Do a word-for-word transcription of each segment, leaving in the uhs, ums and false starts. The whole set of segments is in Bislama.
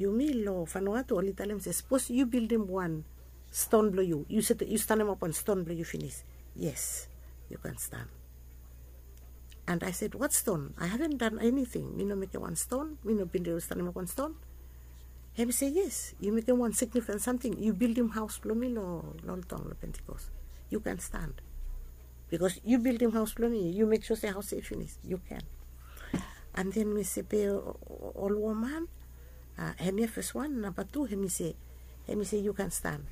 Yumi long Vanuatu oli talem se, sapos yu bildim wan ston blong yu, yu stanemap wan ston blong yu finis, yes, yu kan stan. And I said, what stone? I haven't done anything. Mi no mekem wan ston, mi no bin stanemap wan ston. Hem i se, yes, yu mekem wan signifikan samting, yu bildim haos blong mi long oltong long Pentikos. Yu kan stan. Bikos yu bildim haos blong mi, yu mek sua se haos ya i finis, yu kan. And then mi se, be ol woman, hemia fes wan, namba tu, hem i se, hem i se yu kan stan.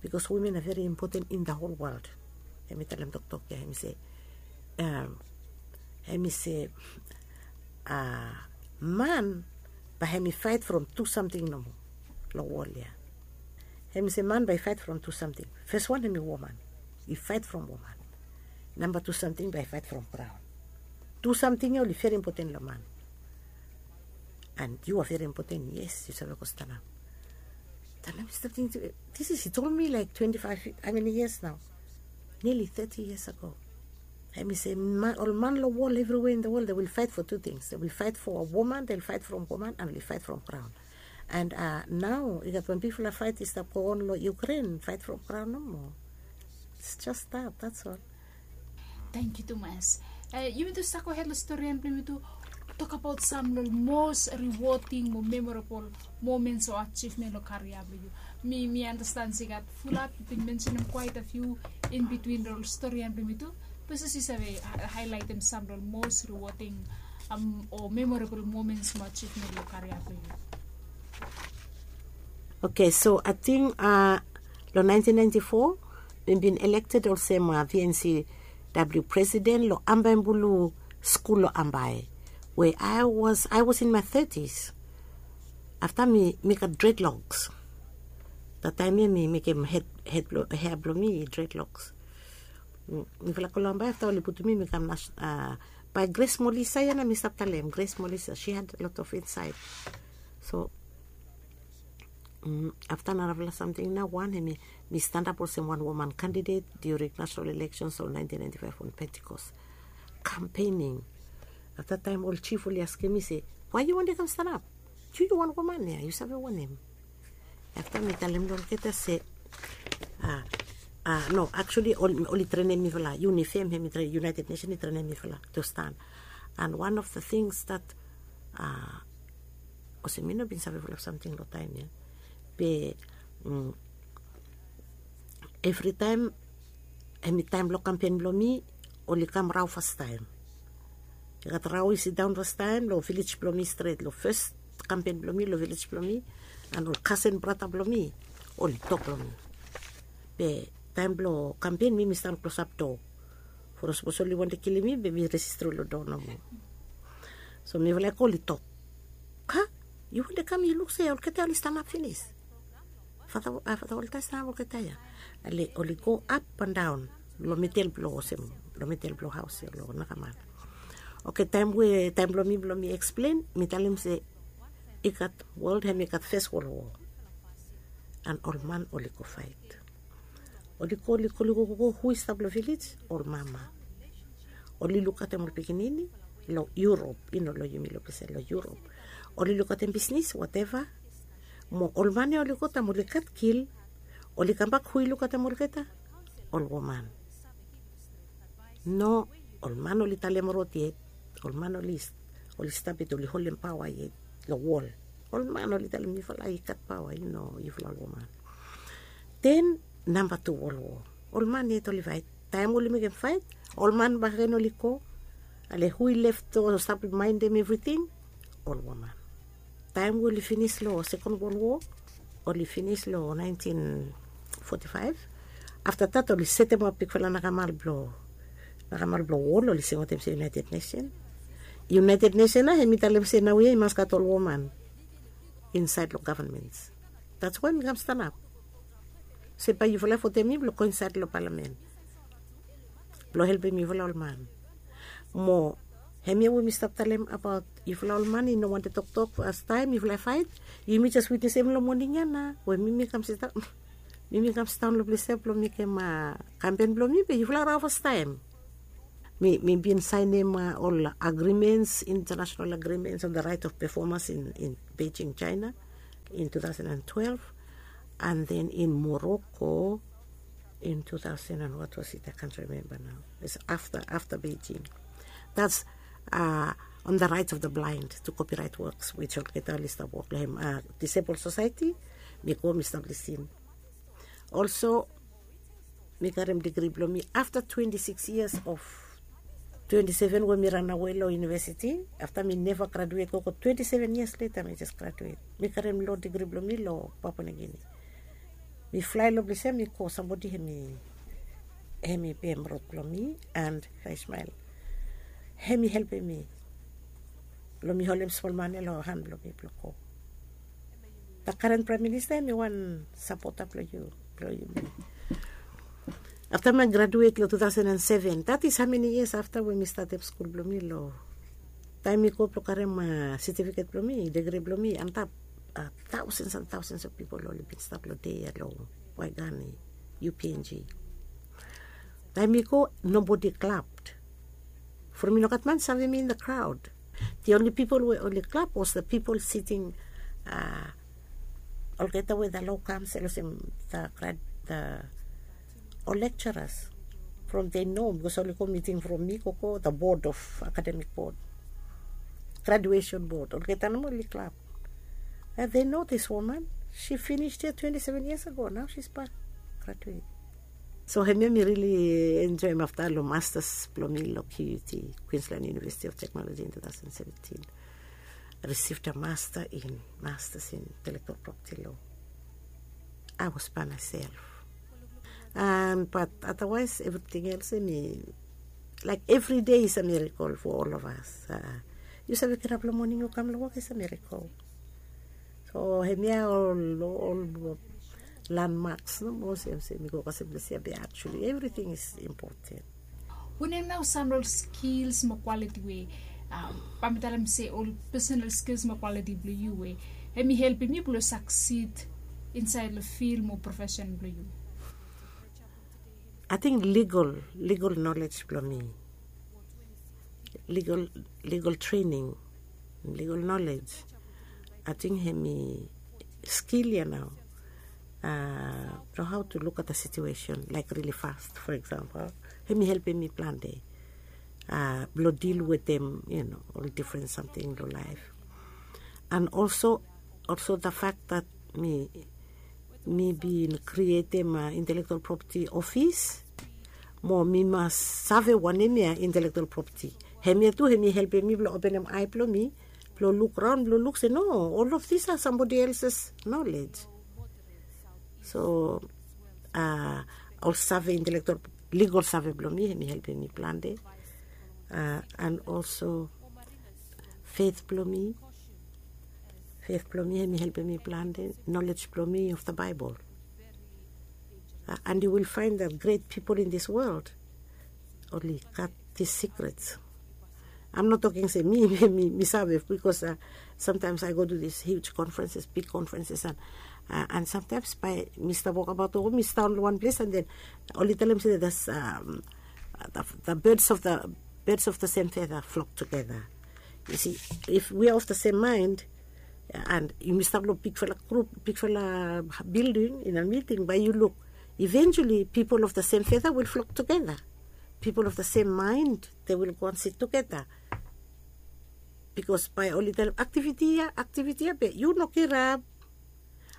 Bikos women a veri impoten in da hol wol. Hem i talem toktok ya, hem i se, hem i se, man bae hem i faet from tu samting nomo long wol ya. Hem i se man bae i faet from tu samting. Fes wan hem i woman, i faet from woman. Namba tu samting bae i faet from graon. Tu samting ya oli veri impoten long man. And yu a veri impoten, yes, yu save go stanap. Then I start thinking, this is, he told me like twenty-five, how many years now? Nearly thirty years ago. Hem i se, ol man long wol evriwea in da wol, they will fight for two things. They will fight for a woman, they will fight from woman, and will fight from graon. And nao i gat wan bigfala faet i stap go on long Ukraine, faet from graon nomo. It's just that, that's all. Tangkiu tumas. Yumi tu sako hed long storian blong yumi tu, tokabaot sam long mos rewarding mo memorable moments o achievement long karia blong yu. Mi mi understand se i gat fulap, yu bin mentionem quite a few in between long storian blong yumi tu. Pese yu save highlightem sam long mos rewarding o memorable moments mo achievement long karia blong yu. Okay, so ating long nineteen ninety-four mi bin elected olsem VNCW president long Ambae Bulu skul long Ambae, we I was, I was in my thirties. Afta mi mi gat dreadlocks. Da taem ya mi mekem hea blong mi dreadlocks. Mifala go long Ambae, afta oli putum mi mi kam bae Grace Molisa ya nao mi stap talem, Grace Molisa, she had a lot of insight. So afta narafala samting nao, wan hemi mi stanap olsem wan woman kandidet during national elections long nineteen ninety-five on Pentecost campaigning. Afta taem ol jif oli askem mi se, wae yu wantem kam stanap? Yu yu wan woman ya, yu save wanem? Afta mi talem long olgeta se, a, no, actually oli trenem mifala, UNIFEM hemi trenem, United Nation i trenem mifala to stan. And one of the things that, a, olsem mi no bin save fulap samting long taem ya. Be evritaem hemi taem blong kampen blong mi, oli kam rao fastaem. I gat rao i sidaon fastaem long vilej blong mi stret, long fes kampen blong mi long vilej blong mi. And ol kasen brata blong mi oli tok long mi. Be taem blong kampen mi mi stan klosap doa. From sapos oli wantem kilim mi be mi resist tru long doa nomo. So mifala i go, oli tok, ka, yu wantem kam yu luk se olgeta oli stanap finis. Fata oltaem stanap olgeta ya. Ale oli go ap and daon long midel blong olsem, long midel blong haos ya long nakamal. Oke, taem we taem blong mi blong mi eksplen, mi talem se i gat wol, hemi gat fes wol woa. And ol man oli go faet. Oli go, oli go, oli go, go, go, hu i stap long vilej? Ol mama. Oli lukaotem ol pikinini long Europe, i no long yumi long ples ya, long Europe. Oli lukaotem bisnis, whatever. Mo ol man ya oli go taem oli gat kil, oli kambak, hu i lukaotem olgeta? Ol woman. No, ol man oli talem rod yet. Ol man oli, oli stap yet, oli holem paoa yet long wol. Ol man oli talem yufala i gat paoa, i no yufala ol woman. Then namba tu wol woa. Ol man yet oli faet. Taem oli mekem faet, ol man bakegen oli go. Ale hu i lef to stap maendem evriting? Ol woman. Taem we oli finis long sekon wol woa, oli finis long naentin foti faef. Afta dat oli setemap bigfala nakamal blong, nakamal blong wol, oli singaotem se United Nation. United Nation nao hemi talem se naoia i mas gat ol woman insaed long gavman. That's why mi kam stanap se bae yufala votem mi blong go insaed long palamen blong helpem yufala ol man. Mo hemia we mi stap talem abaot yufala ol man i no wantem toktok fastaem, yufala i faet. Yumi jes witnesem long moning ya nao we mi mi kam sidaon, mi mi kam sidaon long ples ya blong mekem kampen blong mi, be yufala rao fastaem. Mi mi bin saenem ol agrimens, international agrimens on the right of performers in Beijing, China. In two thousand and twelve, and then in Morocco in two thousand and what was it? I can't remember now. It's after after Beijing. That's uh, on the rights of the blind to copyright works, which olgeta oli stap wok long hem. Uh, Disabled Society, mi go mi stap lisin. Also, mi karem digri bilong mi afta twenty six years of twenty seven we mi ranawe long universiti. Afta mi neva graduet gogo twenty seven years leta mi jes graduet. Mi karem lo digri bilong mi long Papua New Guinea. Mi flai long ples ya mi go, sambodi hem i hem i pem rot bilong mi and Ismael hem i helpim mi long mi holim smol mane long han bilong mi bilong go. The current prime minister em i wan sapota bilong yu bilong yu mi. Afta mi graduet long two thousand and seven, that is how many years afta we mi statim skul bilong mi long taim mi go bilong karim certificate bilong mi, degree bilong mi antap thousands and thousands of people oli bin stap long dei ya long Waigani, U P N G. Taim mi go, nobody clapped. From mi no gat man save mi in the crowd. The only people we only clap was the people sitting uh, olgeta we the law council olsem the grad the or lecturers from they know because oli go meeting from mi koko the board of academic board, graduation board, olgeta nomo oli clap. And they know this woman, she finished here twenty seven years ago, now she's back graduate. So hemia mi really enjoy him afta long masters bilong mi long Q U T, Queensland University of Technology in two thousand seventeen. Received a master in masters in intellectual property law. I was by myself. Um, but otherwise, everything else, I mean, like every day is a miracle for all of us. Uh, you sabi kirap long morning, you come long work is a miracle. So hemia ol ol landmarks no mo olsem se mi go kasem ples ya be actually everything is important. Wanem nau sam long skills mo quality we bai mi talem se ol personal skills mo quality bilong yu we em i helpim yu bilong succeed inside long field mo profession bilong yu? I think legal legal knowledge bilong mi, legal legal training, legal knowledge. I think hemi skill ya nau. Uh, know how to look at the situation like really fast, for example, hemi helpim mi planti uh, bilong deal with them, you know, all different something in life. And also also the fact that mi mi bin creatim uh, intellectual property office, mo mi mas save wanem ya intellectual property. Hemia tu hemi helpim mi bilong openim ai bilong mi bilong luk raun bilong luk se no, all of this are somebody else's knowledge. So uh, ol save intellectual legal save bilong mi hemi helpim mi planti. Uh, and also faith bilong mi, faith bilong mi em i helpim mi planti, knowledge bilong mi of the Bible. Uh, and you will find that great people in this world only got these secrets. I'm not talking se mi mi mi save because uh, sometimes I go to these huge conferences, big conferences, and uh, and sometimes by Mister Walkabout or Mister only one place, and then only tell him say there's um, the, the birds of the birds of the same feather flock together. You see, if we are of the same mind, and yumi stap long bigfala grup, bigfala building in a meeting, bai yu luk, eventually people of the same feather will flock together. People of the same mind, they will go and sit together. Because bai oli talem activity ya, activity ya be yu no kirap.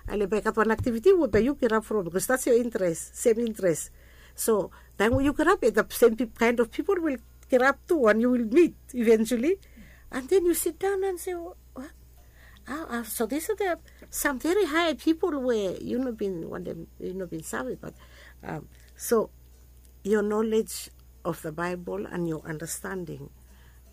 Ale bai gat wan activity we bai yu kirap from because that's your interest, same interest. So taim we yu kirap, the same kind of people will kirap tu and you will meet eventually. And then you sit down and say, oh, what? Ah, ah, so these are the some very high people where you no bin wantem, you no bin save, but um, so your knowledge of the Bible and your understanding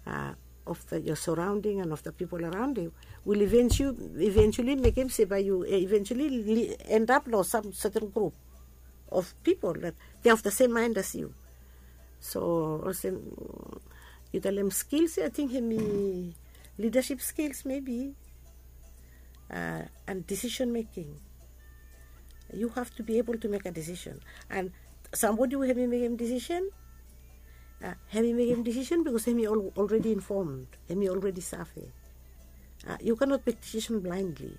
uh, of the, your surrounding and of the people around you will eventually, eventually make him say by you eh, eventually end up lo some certain group of people that they're of the same mind as you. So olsem yu talem skills, I think hemi leadership skills maybe, uh, and decision making. You have to be able to make a decision. And somebody who hemi mekem decision, uh, hemi mekem decision because hemi already informed, hemi already save. Uh, you cannot make decision blindly.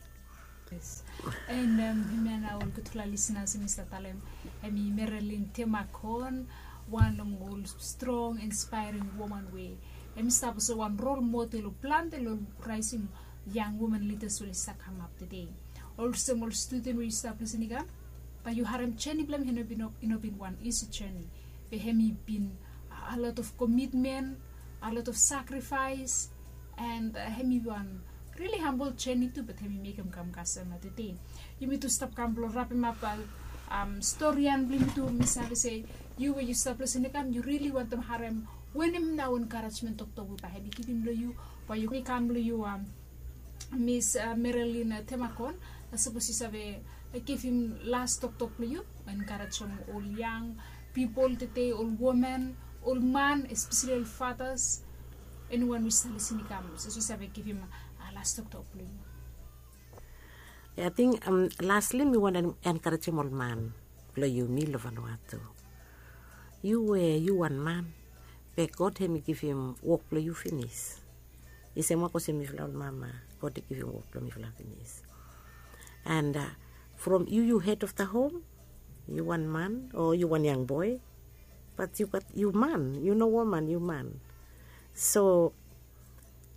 Yes. And um, hemia nao ol gutfala listeners, hemi stap talem hemi Marilyn Temakon, wan long ol strong, inspiring woman we hemi stap olsem wan role model o plante long rising young woman leaders we oli stap kamap tede. Olsem ol student we yu stap listening kam, bae yu harem journey blong hem i no bin, i no bin wan easy journey. Be hemi bin a lot of commitment, a lot of sacrifice, and uh, hemi wan really humble journey tu, but hemi mekem kam kasem na tede. Yumi tu stap kam blong rapemap um, storian blong yumi tu, mi save se yu we yu stap listening kam, yu really wantem harem wanem nao encouragement toktok we bae hemi givim long yu, bae yu kam long yu um, Miss uh, Marilyn uh, Temakon, uh, sapos yu save uh, givim las toktok blong yu, encouragem ol young people tede, ol woman, ol man, especially ol fathers, anyone we stap listening kam, sapos yu save givim uh, las toktok blong yu. Ating um, lastly mi wantem encouragem ol man blong yumi long Vanuatu. Yu we yu wan man, be God hemi givim wok blong yu finis. I sem wok olsem mifala ol mama, God i givim wok blong mifala finis. And uh, from yu, yu head of the home, yu wan man o yu wan young boy, but yu gat, yu man, yu no woman, yu man. So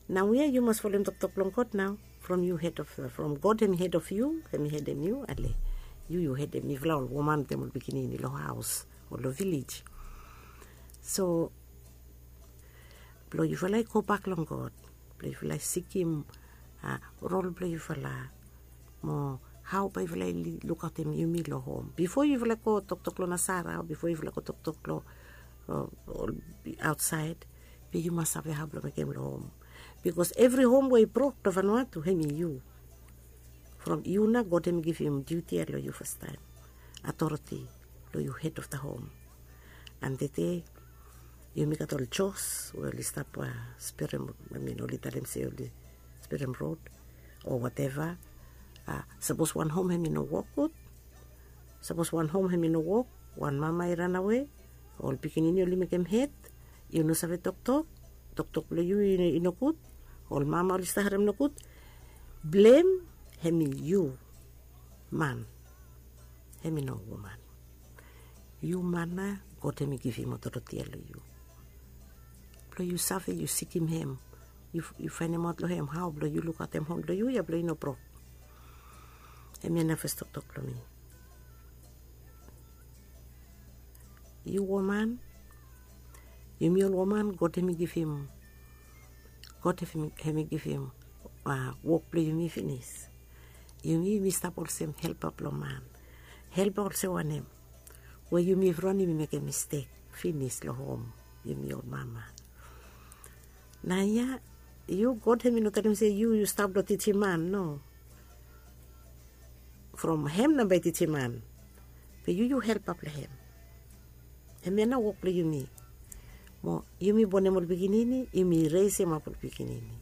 nao ia yu mas folem toktok blong God nao. From yu head of, from God hemi head of yu, hemi hedem yu, ale yu, yu hedem mifala ol woman wetem ol pikinini long haos o long vilej. So blong yufala i gobak long God, blong yufala i sikim uh, rol blong yufala, mo hao bae yufala i lukaotem yumi long hom. Bifo yufala go toktok long nasara o bifo yufala go toktok long uh, aotsaed, be yu mas save hao blong mekem long hom. Bikos evri hom we i brok long Vanuatu, hemi yu. From yu nao God hemi givim diuti ia long yu fastaem, authority, long yu head of the home. And tede yumi gat ol jos we oli stap sperem, I mean, oli talem se oli sperem rod o whatever. Sapos wan hom hemi no wok gud, sapos wan hom hemi no wok, wan mama i ranawe, ol pikinini oli mekem het, yu no save toktok, toktok blong yu i nogud, ol mama oli stap harem nogud, blem hemi yu man, hemi no woman. Yu man nao God hemi givim otoreti ia long yu blong yu save yu sikim hem, yu faenemaot long hem hao blong yu lukaotem hom blong yu ia blong i no brok. Hemia nao fes toktok blong mi. Yu woman, yumi ol woman God hemi givim, God hemi givim wok blong yumi finis. Yumi yumi stap olsem helpa blong man. Helpa olsem wanem? We yumi evriwan yumi mekem mistek finis long hom, yumi ol mama. Nao ia yu, God hemi no talem se yu yu stap blong tijim man, no. From hem nao bae i tijim man. Be yu yu helpap long hem. Hemia nao wok blong yumi. Mo yumi bonem ol pikinini, yumi resemap ol pikinini.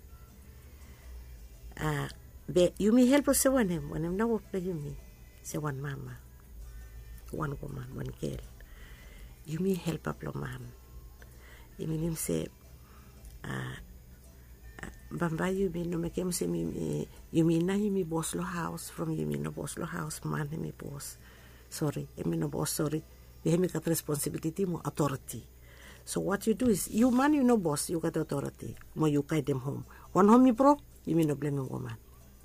Be yumi help olsem wanem? Wanem nao wok blong yumi se wan mama, wan woman, wan gel? Yumi helpap long man. I minim se bambae yumi no mekem olsem yumi nao yumi bos long haos. From yumi no bos long haos, man hemi bos. Sori, hemi no bos, sori. Be hemi gat responsibiliti mo otoreti. So what you do is, yu man yu no bos, yu gat otoreti mo yu gaedem hom. Wan hom i brok, yumi no blemem woman,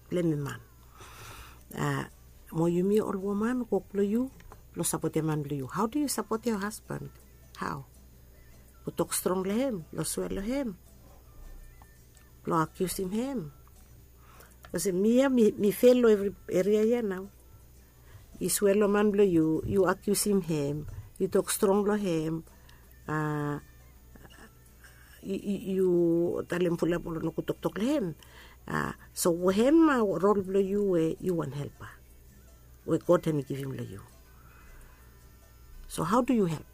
blemem man. Mo yumi ol woman, wok blong yu blong sapotem man blong yu. Hao do yu sapot yo hasban? Hao? Long tok strong long hem, long swea long hem, blong akiusim hem. Olsem mi ya mi fel long evri eria ya nao. Yu swea long man blong yu, yu akiusim hem, yu tok strong long hem, yu talem fulap ol nogud toktok long hem. So hem rol blong yu we yu wan helpa we God hemi givim long yu. So hao do yu help?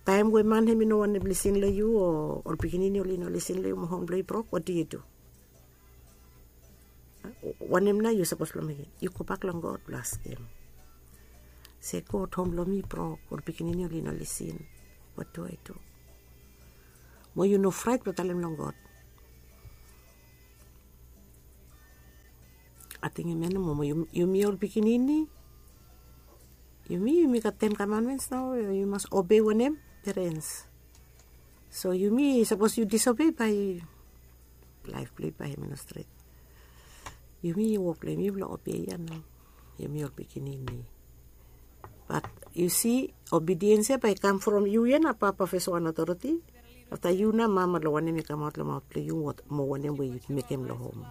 Taem we man hemi no wantem lisin long yu, o ol pikinini oli no lisin long yu, mo hom blong yu brok, what do you do? Wanem nao yu sapos blong mekem? Yu gobak long God blong askem se, God, hom blong mi brok, ol pikinini oli no lisin, what do I do? Mo yu no fraet blong talem long God. Ating em ya nomo mo yumi ol pikinini, yumi yumi gat ten kamandmens nao, yu mas obei wanem? Perens. So yumi sapos yu disobei bae laef blong yu bae hem i no stret. Yumi wok blong yumi blong obei ya nao, yumi ol pikinini. Bat yu si, obediens ya bae i kam from yu ya na papa fes wan otoriti. Afta yu na mama long wanem i kamaot long maot blong yu, mo wanem we yu mekem long hom.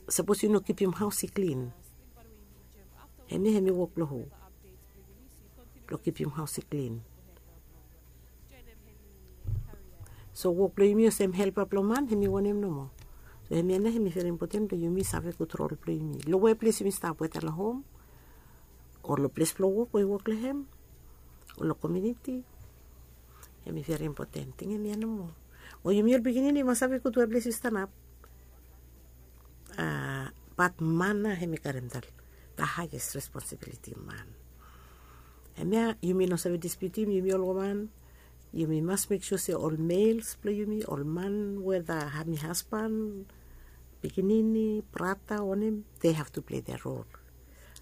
Sapos yu no kipim haos i klin, hemia hem i wok blong hu? Blong kipim haos i klin. So wok blong yumi olsem helpa blong man hem i wanem nomo? So hemia nao hem i veri impoten blong yumi save gud rol blong yumi long we ples yumi stap weta long hom, o long ples blong wok we yu wok long hem, o long komiuniti. Hem i veri impoten ting hemia nomo. O yumi ol pikinini yu mas save gud we ples yu stanap. Bat man nao hem i karem da haes responsibiliti man. Hemia yumi no save dispiutim, yumi ol woman yumi mas mek sua se ol mels blong yumi, ol man weda hem i hasban, pikinini, brata wanem, de have tu plei dea rol.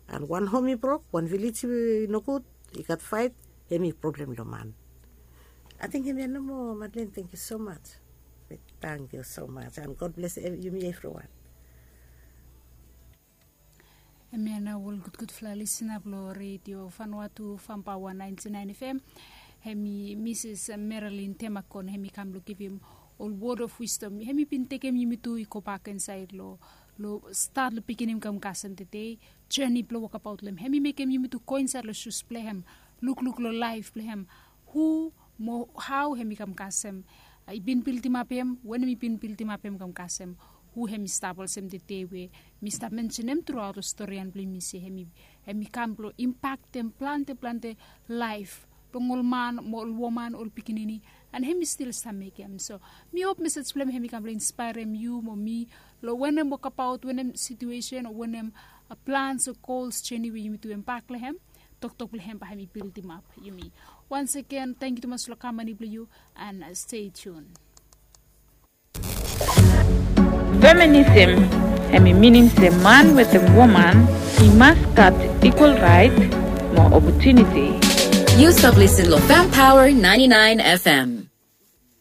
An wan hom i brok, wan vilej i nogud, i gat faet, hem i problem long man. Ating hemia nomo. Madlen, tangkiu somaj. Tangkiu somaj an god bles yumi evriwan. Hemia nao ol gudgudfala lisina blong redio fanua tu fampawa naenti naen fm. Hem i misis meralin temakon hem i kam blong givim ol wod of wisdom hem i bin tekem yumi tu i gobak insaed long stat long pikinim kam kasem tede. Jeni blong wokabaot long hem hem i mekem yumi tu go insaed long sus blong hem, lukluk long laef blong hem, hu mo hao hem i kam kasem, i bin bildimap hem, wanem i bin bildimap hem kam kasem, hu hem i stap olsem tede we mi stap mensenem truaot long storian blong yumi se hem i kam blong impaktem plante plante laef blong ol man mo ol woman, ol pikinini, an hem i stil stap mekem. So mi hop mesej blong hem hem i kam blong inspaerem yu mo mi long wanem wokabaot, wanem situesen o wanem plans o gols jeni we yumi tu embak long hem. Toktok blong hem bae hem i bildimap yumi. Wans agen tangkiu tumas long kamani blong yu, an stei tun. Feminism hem i minim se man wetem woman i mas gat ikwal raet mo opotuniti. Yu stap lisin long Fem Power naenti naen fm.